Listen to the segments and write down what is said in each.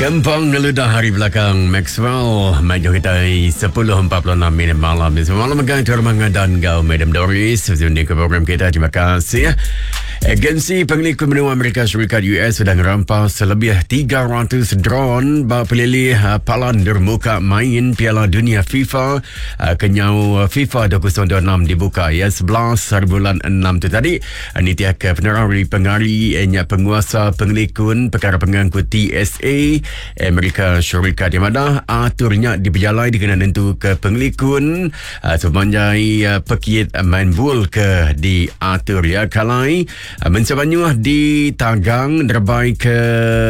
Kempang ngeludah hari belakang Maxwell Maju kita 10.46 minit malam ni. Selamat malam megang Tuan Rumah dan Gau Madam Doris Sudah ke program kita Terima kasih Agensi Pengelikun Menua Amerika Syarikat US sudah ngerampas lebih 300 drone ba pelilih eh, Palan Dermuka Main Piala Dunia FIFA eh, kenyau eh, FIFA 2026 dibuka ya 11 hari bulan 6 tu tadi. Nitih ke penerang ari pengari nya penguasa pengelikun pekara pengangkut TSA Amerika Syarikat yang madah atur nya dipejalai dikena nentu ke pengelikun uh, sepanjai uh, pekit main bul ke diatur ya kalai uh, mensia mayuh ditagang nerebai ke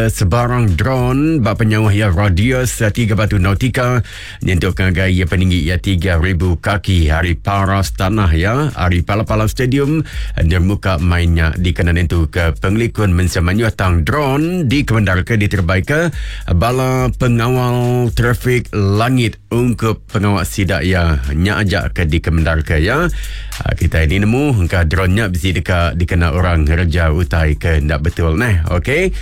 sebarang drone ba penyauh ya radius 3 batu nautika Nyentuk ngagai iya peninggi iya 3,000 kaki ari paras tanah iya ari pala-pala stadium endur muka main nya dikena nentu ke pengelikun mensia mayuh tang drone dikemendarka diterebaika bala pengawal trafik langit ungkup pengawa sida iya nya aja ke dikemendarka iya. Kitai ni nemu engka drone nya bisi deka dikena orang ngereja utai ke enda betul neh. Okey.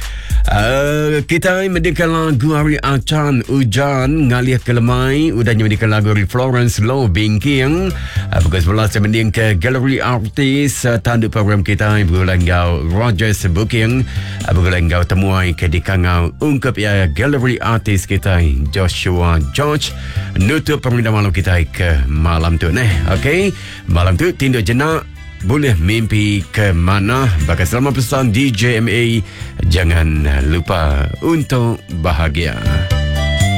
Uh, kitai mendingka lagu ari Achan Ujan ngalih ke lemai udah nya mendingka lagu ari Florence Low Bingking. Uh, pukul 11 saya mendingka Gallery Artist uh, tandu program kitai begulai enggau Rogers Booking uh, begulai enggau temuai ke dikangau ungkup ya Gallery Artist kitai Joshua George. Nutup pemerintah malam kita ke malam tu neh. Okey, malam tu tinduk jenak boleh mimpi ke mana baka selama pesan DJMA jangan lupa untuk bahagia.